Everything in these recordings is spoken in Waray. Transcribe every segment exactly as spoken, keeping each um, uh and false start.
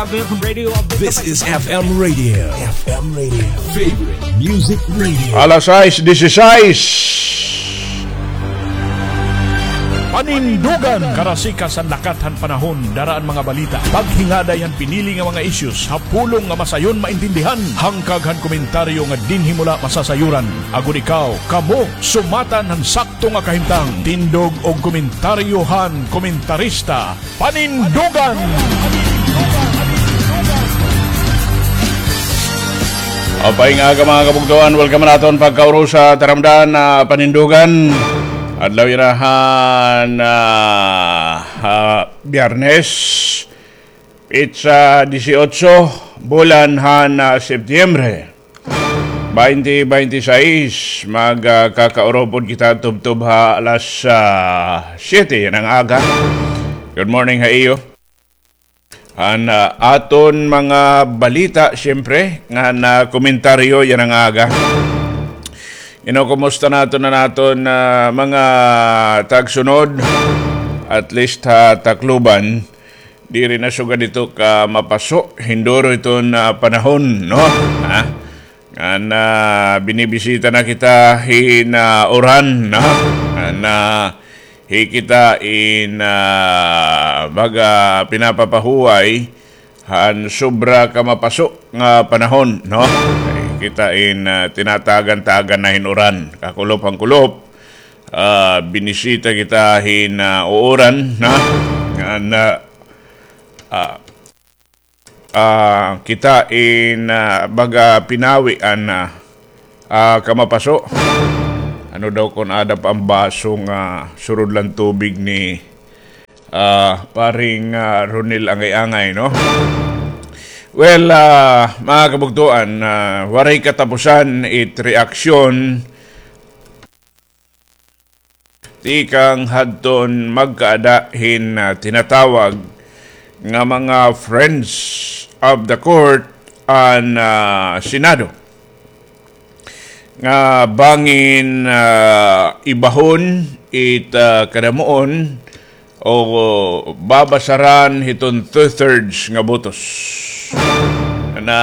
This is F M Radio. F M Radio. Favorite Music Radio. Alas sais disisais. Panindugan. Karasikas han lakat han panahon, dara an mga balita, paghingaday han pinili nga mga issues ha pulong nga masayon maintindihan, hangkag han komentaryo nga dinhi mo la masasayuran. Agod ikaw, kamo, sumatan han sakto nga kahimtang. Tindog og komentaryo han komentarista. Panindugan! Maupay nga aga, mga kabugtoan. Welcome naton pagkaurusa taramdan na Panindugan. Adlaw yana han, ah, ah, Biyernes, petsa disiotso, bulan han, ah, Setyembre. Baynte baynte sais, magkakaurupod kita tubtob ha alas, ah, siyete yana nga aga. Good morning ha iyo. Han, ah, aton mga balita, siyempre, ngan komentaryo yana nga aga. Ino, kumusta naton an aton, ah, mga tagsunod? At least ha Tacloban, diri na sugad hito kamapaso, hinduro iton, ah, panahon, no? Ha? Ngan, ah, binibisita na kita hin, ah, uran, no? Ngan, ah, hi kita in, ah, baga pinapapahuway han sobra kamapaso nga panahon, no? Hi kita in, ah, tinatagan-tagan na hin uran, kakulop han kulop. Ah, binisita kita hin, ah, uuran, no? Ngan, ah, ah, ah, kita in, ah, baga pinawi an, ah, ah, kamapaso. Ano daw kon aada pa an baso nga surod la hin tubig ni, ah, paring, ah, Ronel Angay-angay, no? Well, ah, mga kabugtoan, ah, waray katapusan it reaksyon tikang hadton magkaada hin, ah, tinatawag nga mga friends of the court an, ah, Senado, nga bangin, ah, ibahon it, ah, kadamuon o babasaran hiton two-thirds nga botos na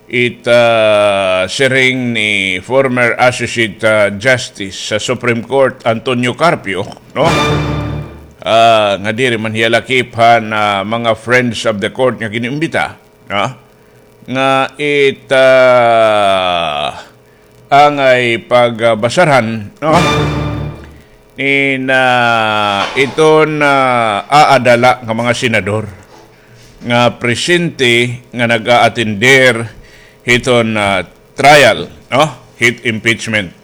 it, ah, siring ni former Associate, ah, Justice sa Supreme Court, Antonio Carpio, no? Ah, nga diri man hiya lakip han, ah, mga friends of the court nga gin-imbita, no? Nga it, ah, angay pagbasaran, no? Nin, ah, iton, ah, aada la nga mga senador nga presente nga nag-a-attender hiton, ah, trial, no? Hit impeachment.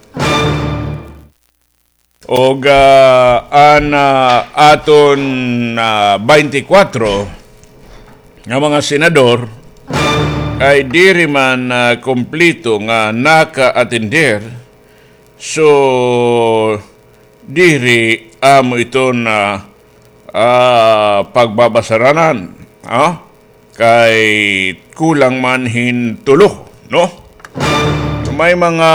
Ug, ah, an, ah, aton, ah, baynte kwatro nga mga senador ay diri man, ah, kumpleto nga naka-attender. So, diri amo iton, ah, ah, pagbabasaranan, ah, kay kulang man hin tulo, no? So, may mga,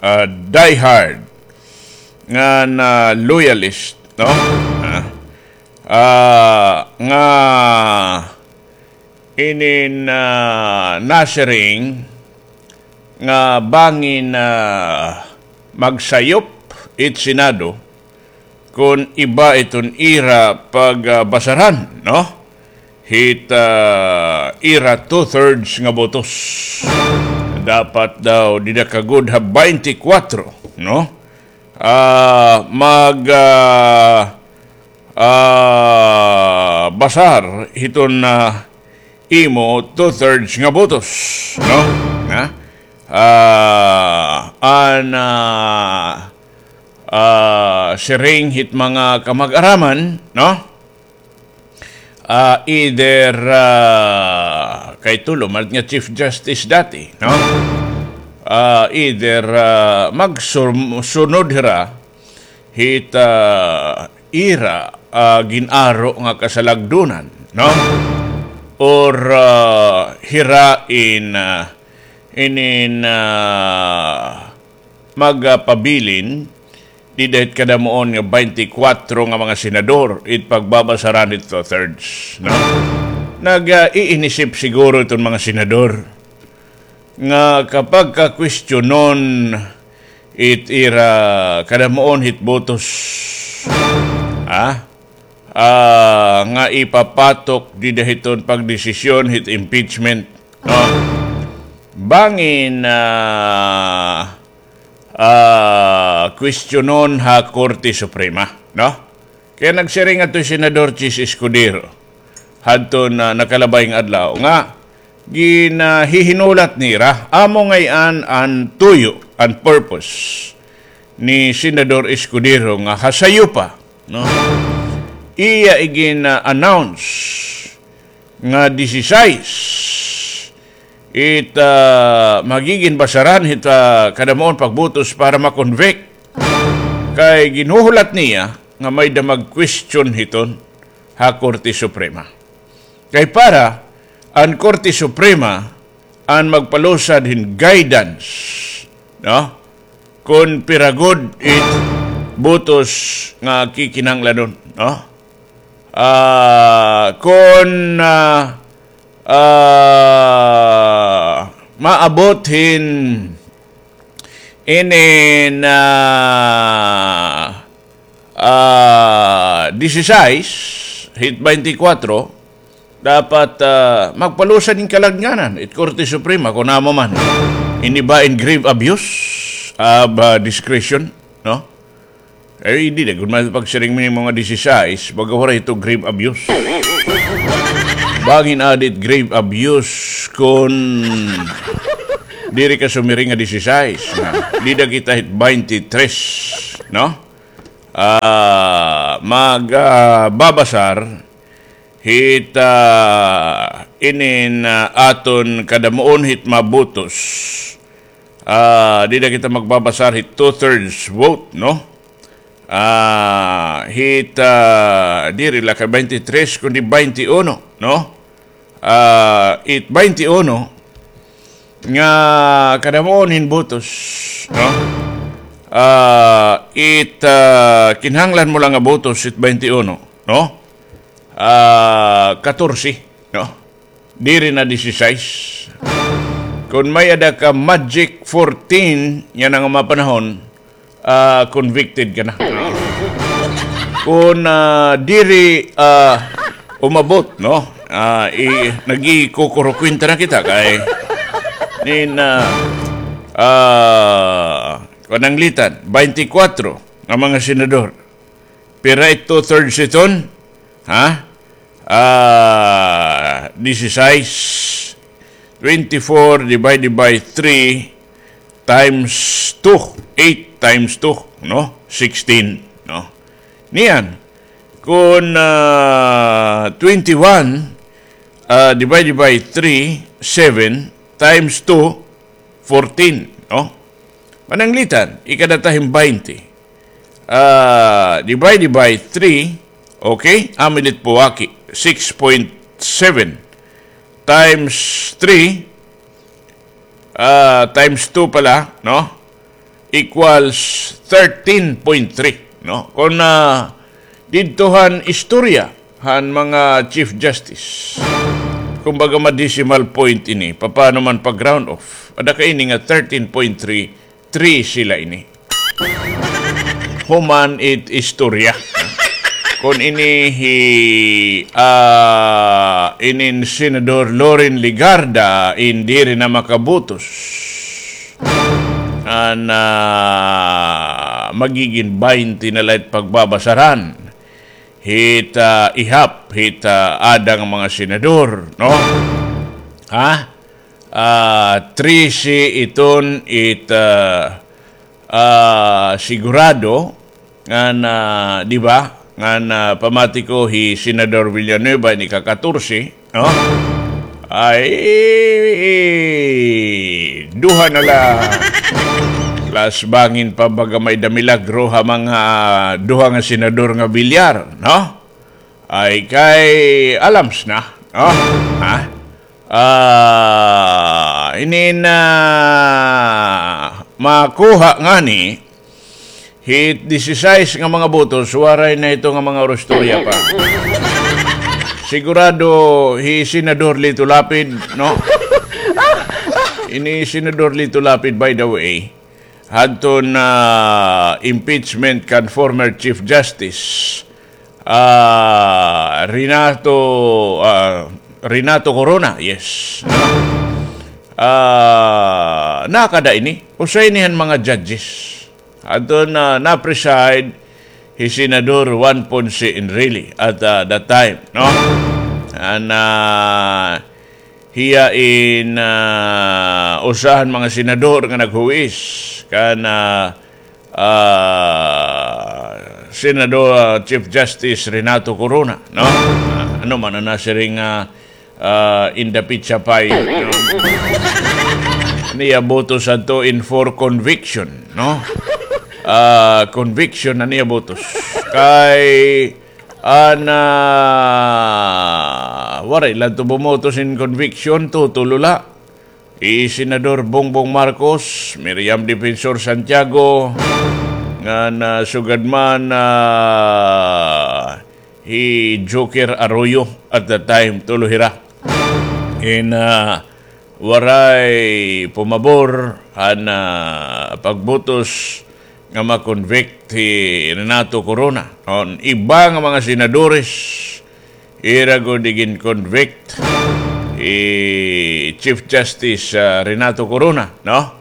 ah, diehard ngan loyalist, no? Ah, ah, nga inin, ah, nasiring nga bangin, ah, magsayop it Senado kon iba iton ira pagbasaran, no? Hit, ah, ira two-thirds nga botos. Dapat daw dida ka gud ha baynte kwatro, no? Ah, mag, ah, ah, basar hiton, ah, imo two-thirds nga botos, no? Ha? Ah, an, ah, ah, siring hit mga kamag-araman, no? Ah, either, ah, kay tulo man nga Chief Justice dati, no? Ah, either, ah, magsunod hira hit, ah, ira, ah, gin-aro nga kasalagdunan, no? Or, ah, hira in, ah, inin, ah, magpabilin dida hit kadamuon nga twenty-four nga mga senador, it pagbabasaran hit two-thirds, no? Nag, ah, iinisip siguro iton mga senador nga kapag kakwestiyonon it ira kadamuon hit botos, ah, ah, nga ipapatok dida hiton pagdesisyon hit impeachment, no? Bangin, ah, ah, kwestiyonon ha Korte Suprema, no? Kay nagsiring adto hi Senador Chiz Escudero hadton nakalabay nga adlaw nga ginahihinulat nira, amo ngay-an an tuyo, an purpose ni Senador Escudero nga ha sayo pa, no? Iya igin-announce nga disisais it, ah, magigin basaran hit, ah, kadamuon pagbotos para ma-convict. Kay ginhuhulat niya nga may-ada mag-question hiton ha Korte Suprema. Kay para an Korte Suprema an magpalusad hin guidance, no? Kon pira gud it botos nga kikinahanglanon, no? Ah, kon, ah, ah, maabot hin inin, ah, ah, disisais, hit twenty-four, dapat, ah, magpalusad hin kaladnganan it Korte Suprema kon amo man. Ini ba in grave abuse of, ah, discretion, no? Ay, diri gud man pagsiring man hin mga disisais, baga waray ito grave abuse. Bangin aada it grave abuse kon diri ka sumiring nga disisais, na dida kita hit twenty-three, no? Ah, mag, ah, babasar hit, ah, inin, ah, aton kadamuon hit mabotos. Ah, dida kita magbabasar hit two-thirds vote, no? Ah, hit, ah, diri la kay twenty-three, kundi twenty-one, no? Ah, it twenty-one nga kadamuon hin botos, no? Ah, it, ah, kinahanglan mo la nga botos, it twenty-one, no? Ah, katorse, no? Diri na disisais. Kon may-ada ka magic fourteen yana nga mga panahon, ah, convicted ka na. Kon, ah, diri, ah, umabot, no? Ah, i-, nagikukurukwenta na kita kay nin, ah, ah, pananglitan, twenty-four nga mga senador. Pira it two-thirds iton? Ha? Ah, disisais. Twenty-four divided by three times two. Eight times two, no? Sixteen, no? Niyan, kon, ah, twenty-one, ah, divided by three, seven, times two, fourteen, no? Pananglitan, ikadata hin twenty. Ah, divided by three, okay? Amo ini it puwaki, six point seven times three, ah, times two pala, no? Equals thirteen point three, no? Kon, ah, didto han istorya han mga Chief Justice, kumbaga ma-decimal point ini, papaano man pag-round off? Ada ka ini nga thirteen point three, three sila ini. Human it istorya. Kon ini hi, ah, inin Senador Loren Legarda, in diri na makabotos. An, ah, magigin twenty na la it pagbabasaran hit, ah, ihap, hit, ah, aada nga mga senador, no? Ha? Ah, trese iton it, ah, ah, sigurado ngan, ah, di ba? Ngan, ah, pamati ko hi Senador Villanueva ini ka katorse, no? Ay, duha na la. Plus bangin pa baga may-ada milagro ha mga duha nga senador nga Villar, no? Ay kay alams na, no? Ha? Ah, inin makuha ngani Hit disisais nga mga botos, waray na ito nga mga orostorya pa. Sigurado hi Senador Lito Lapid, no? Ini Senador Lito Lapid, by the way, hadton impeachment kan former Chief Justice, ah, Renato, ah, Renato Corona, yes. Ah, nakada ini, usa ini han mga judges. Hadton na preside hi Senador Juan Ponce Enrile at, ah, that time, no? An, ah, hiya in, ah, usa han mga senador nga naghuwis kan, ah, ah, Senador, ah, Chief Justice Renato Corona, no? Ah, ano man an nasiring, ah, ah, in the pizza pie, no? Niya botos adto in for conviction, no? Ah, conviction an iya botos. Kay an, ah, waray la adto bumotos in conviction, tutulo la. Hi Senador Bongbong Marcos, Miriam Defensor Santiago, ngan, ah, sugad man, ah, hi Joker Arroyo at the time, tulo hira. In, ah, waray pumabor han, ah, pagbotos nga ma-convict hi Renato Corona. An iba nga mga senadores, ira gud igin-convict hi Chief Justice, ah, Renato Corona, no?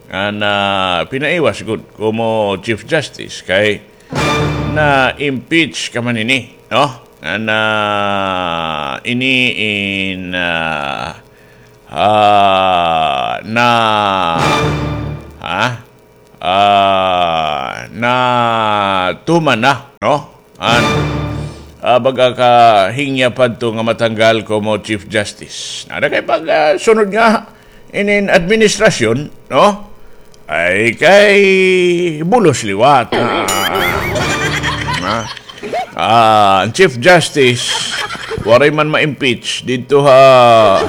Ngan, ah, pinaiwas gud komo Chief Justice kay na-impeach ka man ini, no? Ngan, ah, ini in, ah, ah, na, ha? Ah, natuman na, no? An, ah, baga ka hingya pa adto nga matanggal komo Chief Justice. Nada kay pag, ah, sunod nga inin administrasyon, no? Ay kay bulos liwat. Ah, ah, ah. Ah, an Chief Justice, waray man ma-impeach didto ha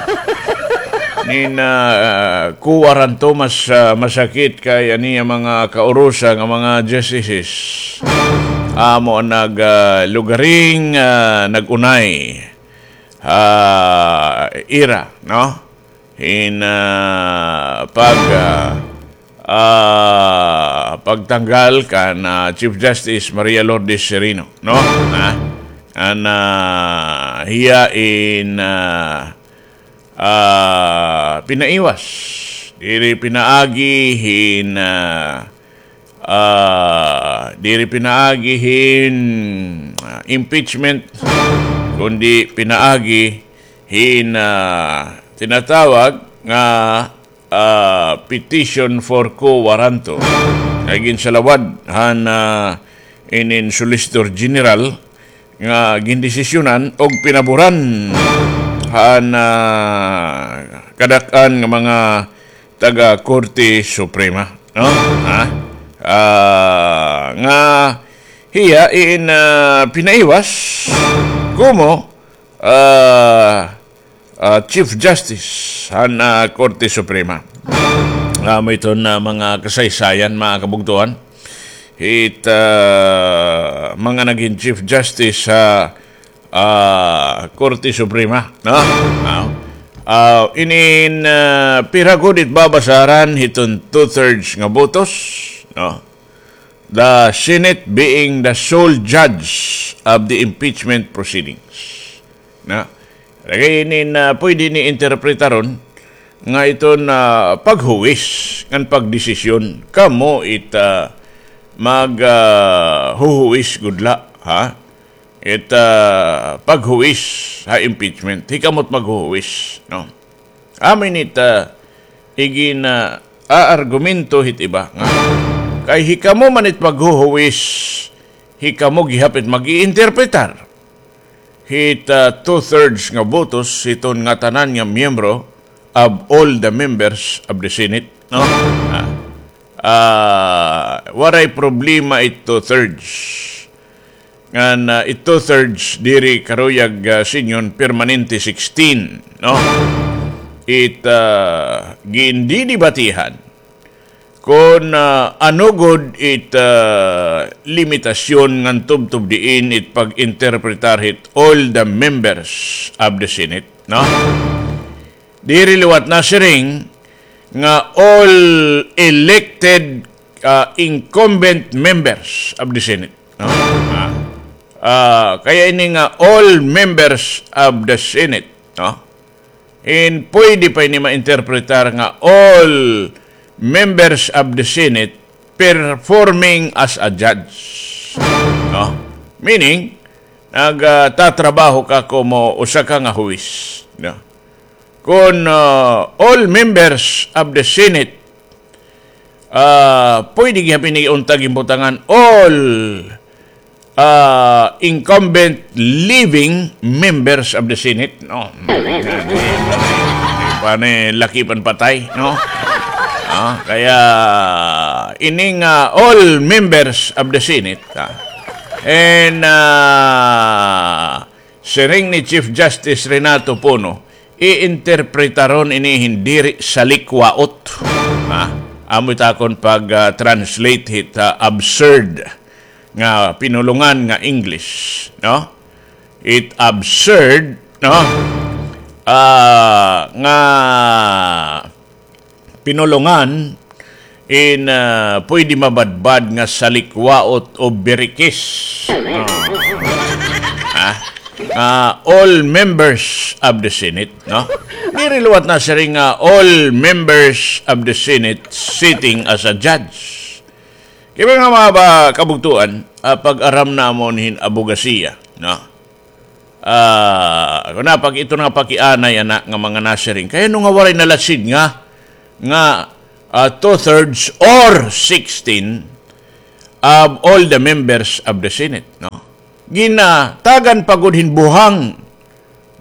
nin, ah, COA ranto, mas, ah, masakit kay an iya mga kaurusa nga mga justices. Amo an nag, ah, lugaring, ah, nag-unay, ah, ira, no? Hin, ah, pag, ah, ah, pagtanggal kan, ah, Chief Justice Maria Lourdes Sereno, no? Ha? An, ah, hiya in, ah, ah, pinaiwas. Diri pinaagi hin, ah, ah, diri pinaagi hin, ah, impeachment, kundi pinaagi hin, ah, tinatawag nga, ah, petition for quo warranto nga ginsalawad han, ah, inin Solicitor General nga gindesisyonan og pinaboran han, ah, kadak-an nga mga taga Korte Suprema, no? Ha? Ah, nga hiya in, ah, pinaiwas komo, ah, ah, Chief Justice han, ah, Korte Suprema. Amo iton, ah, mga kasaysayan, mga kabugtoan. Hit, ah, mga nagin Chief Justice sa, ah, Korte Suprema, no? Ah, ah, inin, ah, pira gud it babasaran hiton two-thirds nga botos, no? The Senate being the sole judge of the impeachment proceedings. Na, lagi ini na pwede ni interpretaron nga iton paghuwis ngan pagdesisyon, kamo it, ah, mag, ah, huhuwis gud la, ha? It, ah, paghuwis ha impeachment, hikamo it maghuhuwis, no? Amo ini it, ah, igin, ah, aargumento hit iba nga kay hikamo man it maghuhuwis, hikamo gihap it mag-iinterpretar hit, ah, two-thirds nga botos hiton ngatanan nga miyembro of all the members of the Senate, no? Ah, ah, waray problema it two-thirds. Ngan, ah, it two-thirds diri karuyag, ah, singon permanente sixteen, no? It, ah, gindidibatihan kon, ah, ano gud it, ah, limitasyon ngan tubtob diin it pag-interpretar hit all the members of the Senate, no? Diri liwat nasiring nga all elected, ah, incumbent members of the Senate, no? Ah, ah, kaya ini nga all members of the Senate, no? And pwede pa ini ma-interpretar nga all members of the Senate performing as a judge. No? Meaning, nagtatrabaho ka komo usa ka nga huwis. No? Kon, ah, all members of the Senate, ah, pwede gihap ini unta ginbutangan all ah, incumbent living members of the Senate, no? Pani laki pan patay, no? Ah, kaya ining, ah, all members of the Senate, ah, and, ah, siring ni Chief Justice Renato Pono, iinterpretaron ini hin diri salikwaot. Ha? Amo it akon pag, ah, translate hit, ah, absurd nga pinulongan nga English, no? It absurd, no? Ah, nga pinulongan in, ah, pwede mabadbad nga salikwaot o birikis. No? Ah, ah, all members of the Senate, no? Diri liwat nasiring nga all members of the Senate sitting as a judge. Kay mga, mga ba, kabugtuan, ah, pag-aram namon hin abogasiya, no? Ah, kuno pag ito nga pakianay ana nga mga nasiring. Kay ano nga waray nalasid nga, nga, ah, two-thirds or sixteen of all the members of the Senate, no? Ginatagan pa gud hin buhang,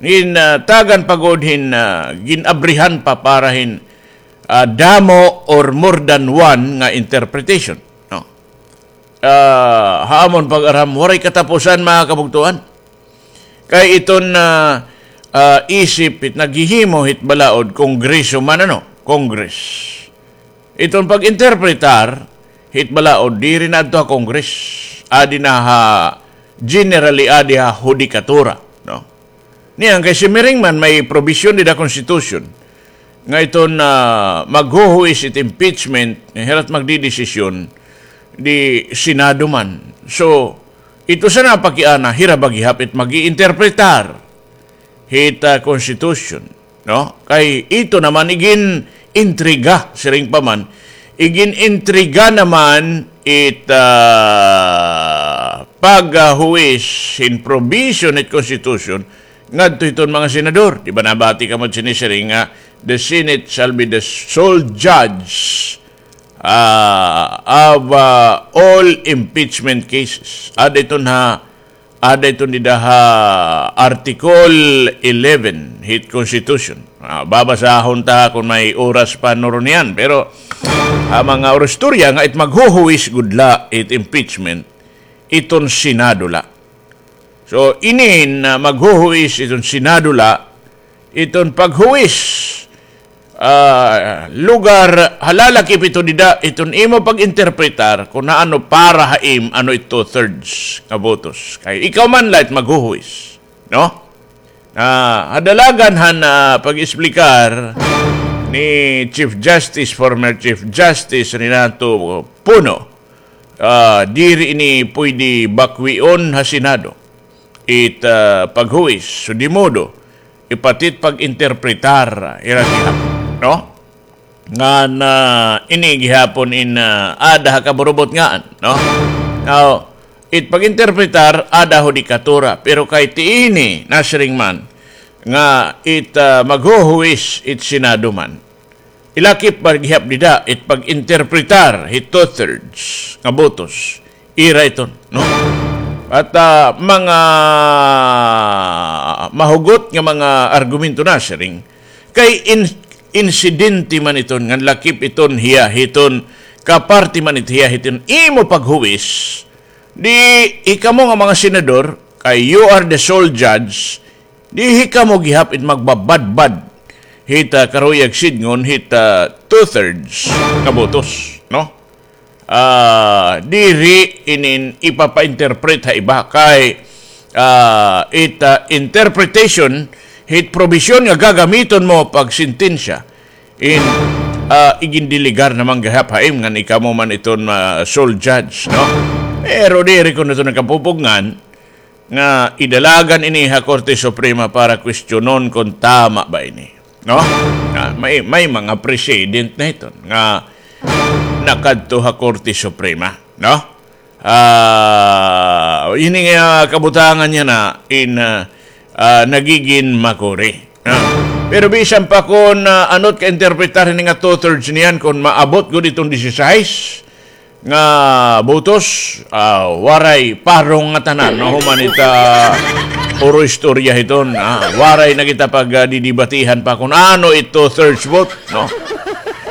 ginatagan pa gud hin, ah, gin-abrihan pa para hin, ah, damo or more than one nga interpretation, no? Ah, ha amon pag-aram, waray katapusan, mga kabugtuan. Kay iton, ah, ah, isip it naghihimo hit balaod, Kongreso man, ano, Congress. Iton pag-interpretar hit balaod, diri na adto ha Congress. Adi na ha, generally, adi ha hudikatura, no? Niyan kay simiring man may probisyon dida Constitution nga iton, ah, maghuhuis it impeachment, hira it magdidesisyon, di Senado man. So, ito sana pakiana, hira ba gihap it mag-iinterpretar hit, ah, Constitution, no? Kay ito naman igin-intriga, siring pa man, igin-intriga naman it, ah, paghuwis hin provision hit Constitution ngadto hiton mga senador. Di ba nabati kamo sinisiring nga, "The Senate shall be the sole judge, ah, of, ah, all impeachment cases." Ada iton ha Ada iton dida ha Article eleven hit Constitution. Ah, babasahon ta kon may oras pa nuro niyan. Pero ha mga oristorya nga it maghuhuwis gud la it impeachment, iton Senado la. So, inin, ah, maghuhuwis iton Senado la, iton paghuwis, ah, lugar, halalakip ito dida, iton imo pag-interpretar kon ano para ha im, ano it two-thirds nga botos. Kay ikaw man la it maghuhuwis, no? Ah, ha dalagan han, ah, pag-explicar ni Chief Justice, former Chief Justice Renato Pono, ah, diri ini pwede bakwion ha Senado it, ah, paghuwis. So, di modo, ipati it pag-interpretar, ira gihap, no? Ngan, ah, ini gihapon in, ah, ada ha kaburubot ngan, no? Now, it pag-interpretar, ada hudikatura, pero kay ti ini, nasiring man, nga it, ah, maghuhuwis it Senado man. Ilakip ba gihap dida it pag-interpretar hit two-thirds nga botos? Ira iton, no? At, ah, mga mahugot nga mga argumento nasiring, kay in-, insidente man iton, ngan lakip iton hiya hiton, kaparte man it hiya hiton imo paghuwis, di hikamo nga mga senador, kay you are the sole judge, di hikamo gihap it magbabadbad hit, ah, karuyag sidngon hit, ah, two-thirds nga botos, no? ah, diri inin ipapa-interpret ha iba kay, ah, it, ah, interpretation hit probisyon nga gagamiton mo pagsentensya in, ah, igindelegar na man gihap ha im ngan ikaw mo man iton, ah, sole judge, no? Pero diri ko na ito nakapupugngan nga idalagan ini ha Korte Suprema para kwestiyonon kon tama ba ini, no? Ah, may, may mga precedent na iton nga nakadto ha Korte Suprema, no? Ah, ini nga kabutangan niya na in, ah, ah, nagigin makuri. Ah, pero bisan pa kon, ah, ano't ka-interpretar ini nga two-thirds niyan, kon maabot gud iton disisais nga botos, ah, waray parong ngatanan, no? Human ita puro istorya hiton, ah, waray na kita pag, ah, didibatihan pa kon ano it two-thirds vote, no?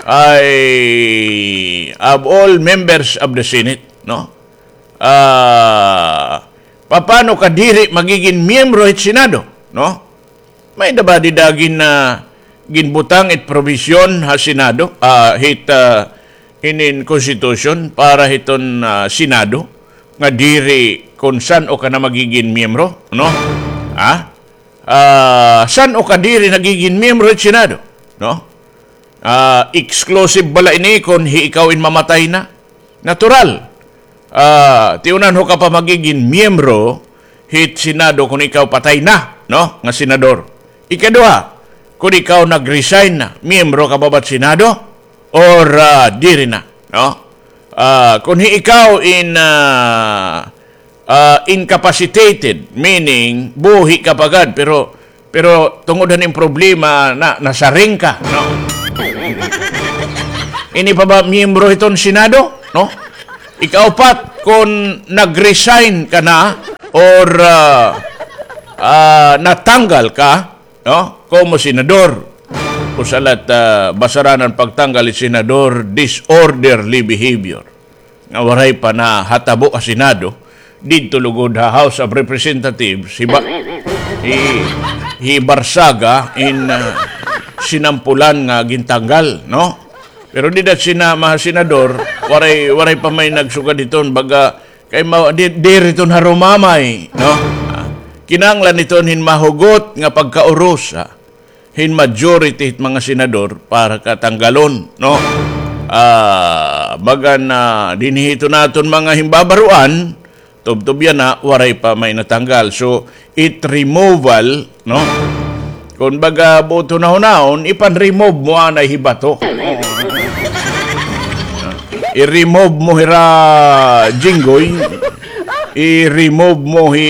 Ay, of all members of the Senate, no? Ah, papano ka diri magigin miyembro hit Senado, no? May-ada ba dida gin, ah, ginbutang it probisyon ha Senado, ah, hit, ah, inin Constitution para hiton, ah, Senado nga diri kon san-o ka na magigin miyembro, no? Ha? Ah, san-o ka diri nagigin miyembro hit Senado, no? Ah, exclusive bala ini kon hi ikaw in mamatay na? Natural. Ah, tiunan ho ka pa magigin miyembro hit Senado kon ikaw patay na, no? Nga senador. Ikaduha, kon ikaw nag-resign na, miyembro ka ba hit Senado? Or, ah, diri na, no? Ah, kon hi ikaw in, ah, ah, incapacitated, meaning buhi ka pa gad, pero, pero tungod han im problema na nasaring ka, no? Ini pa ba miyembro hiton Senado, no? Ikaupat, kon nag-resign ka na or, ah, ah, natanggal ka, no? Komo senador. Usa la it, ah, basaran han pagtanggal hit senador, disorderly behavior. Nga waray pa nahatabo ha Senado, didto lugod ha House of Representatives, hiba-, hi-, hibarsaga in, ah, sinampulan nga gintanggal, no? Pero dida sina mga senador, waray, waray pa may nagsugad hiton, baga, kay ma-, di-, diri iton harumamay, no? Ah, kinahanglan iton hin mahugot nga pagkaurusa hin majority hit mga senador para ka tanggalon, no? Ah, bagan, ah, dinhi hiton aton mga himbabaroan, tubtob yana, waray pa may natanggal. So, it removal, no? Kon baga buot hunahunahon, ipan-remove mo anay hi bato. I-remove mo hira Jinggoy, i-remove mo hi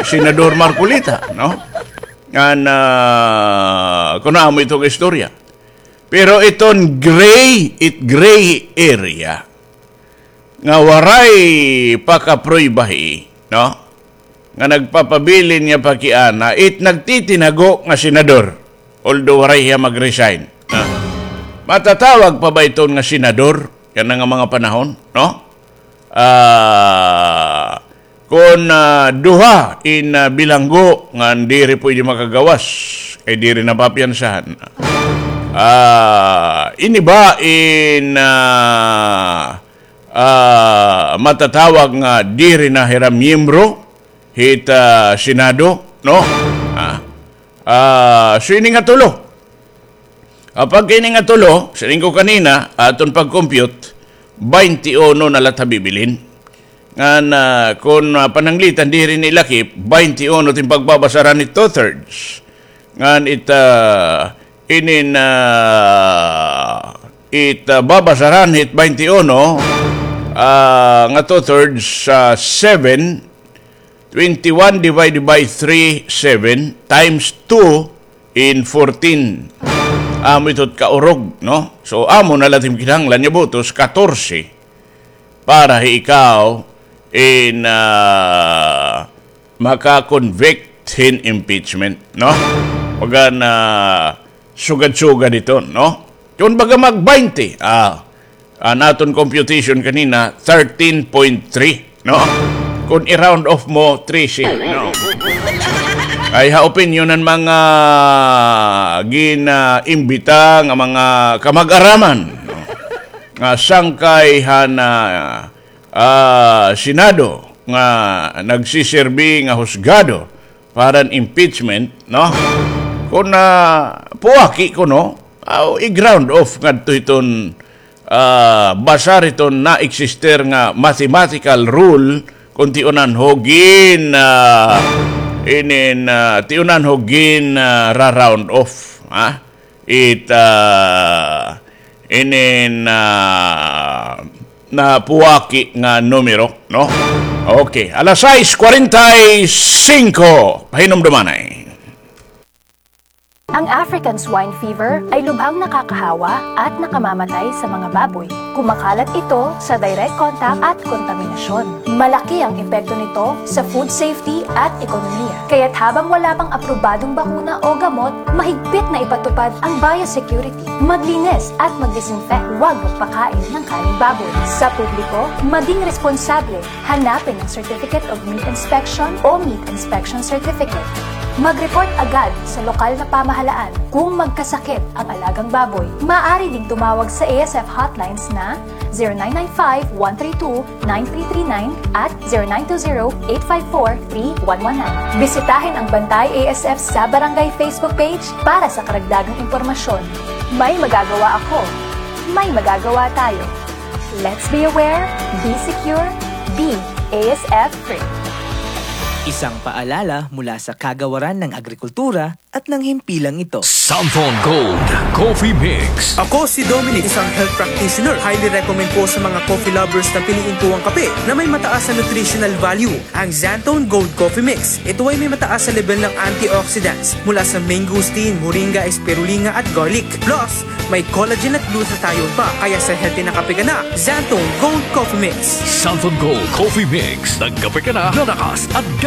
Senador Marcoleta, no? Ngan, ah, kuno amo ito nga istorya. Pero iton gray, it gray area, nga waray pa kaprueba hi, no? Nga nagpapabilin nga pakiana, it nagtitinago nga senador, although waray hiya mag-resign. Ah. Matatawag pa ba iton nga senador? Yana nga mga panahon, no? Ah, kon, ah, duha in, ah, bilanggo ngan diri pwede makagawas, kay diri napapiyansahan. Ah, ini ba in, ah, ah, matatawag nga diri na hira miyembro hit, ah, Senado, no? Ah, ah, so ini nga tulo. Apag kay ini nga tulo, siring ko kanina, aton pag-compute, baynte uno na la it ha bibilin. Ngan, ah, kon, ah, pananglitan diri ni lakip, baynte uno it im pagbabasaran hit two-thirds. Ngan it, ah, inin, ah, it, ah, babasaran hit baynte uno, ah, nga two-thirds sa seven, twenty-one divided by three, seven, times two in fourteen. Amo ito it kaurog, no? So, amo na la it im kinahanglan nga botos, katorse, para hi ikaw in, ah, maka-convict hin impeachment, no? Bagan, ah, sugad-sugad ito, no? Kon baga mag-baynte, ah, an aton computation kanina, thirteen point three, no? Kon i-round off mo, trese, no? Ay ha opinyon han mga gin-, ah, imbita nga mga kamag-araman, no? nga sangkay han, ah, ah, Senado nga nagsisirbi nga husgado para han impeachment, no? Kon, ah, puwaki kuno, aw, i-ground off ngadto hiton, ah, basar hiton naeksister nga mathematical rule, kon tiunan ho gin, ah, inin, ah, tiunan ho gin, ah, ra-round off, ha? It, ah, inin, ah, napuwaki nga numero, no? Okay, alas sais kwarenta y singko. Pahinumdumanay. Ang African swine fever ay lubhang nakakahawa at nakamamatay sa mga baboy. Kumakalat ito sa direct contact at kontaminasyon. Malaki ang epekto nito sa food safety at ekonomiya. Kaya't habang wala pang aprobadong bakuna o gamot, mahigpit na ipatupad ang biosecurity. Maglinis at mag-disinfect. Huwag magpakain ng kaning baboy. Sa publiko, maging responsable. Hanapin ang Certificate of Meat Inspection o Meat Inspection Certificate. Mag-report agad sa lokal na pamahalaan kung magkasakit ang alagang baboy. Maaari ding tumawag sa A S F hotlines na zero nine nine five, one three two, nine three three nine at zero nine two zero, eight five four, three one one nine. Bisitahin ang Bantay A S F sa Barangay Facebook page para sa karagdagang impormasyon. May magagawa ako. May magagawa tayo. Let's be aware, be secure, be A S F free. Isang paalala mula sa Kagawaran ng Agrikultura at ng himpilang ito. Santhon Gold Coffee Mix. Ako si Dominic, isang health practitioner. Highly recommend po sa mga coffee lovers na piliin po ang kape na may mataas na nutritional value. Ang Xanthone Gold Coffee Mix. Ito ay may mataas na level ng antioxidants mula sa mangosteen, moringa, spirulina at garlic. Plus, may collagen at glutathione pa. Kaya sa healthy na kape ka na, Xanthone Gold Coffee Mix. Santhon Gold Coffee Mix. Nagkape ka na, lalakas at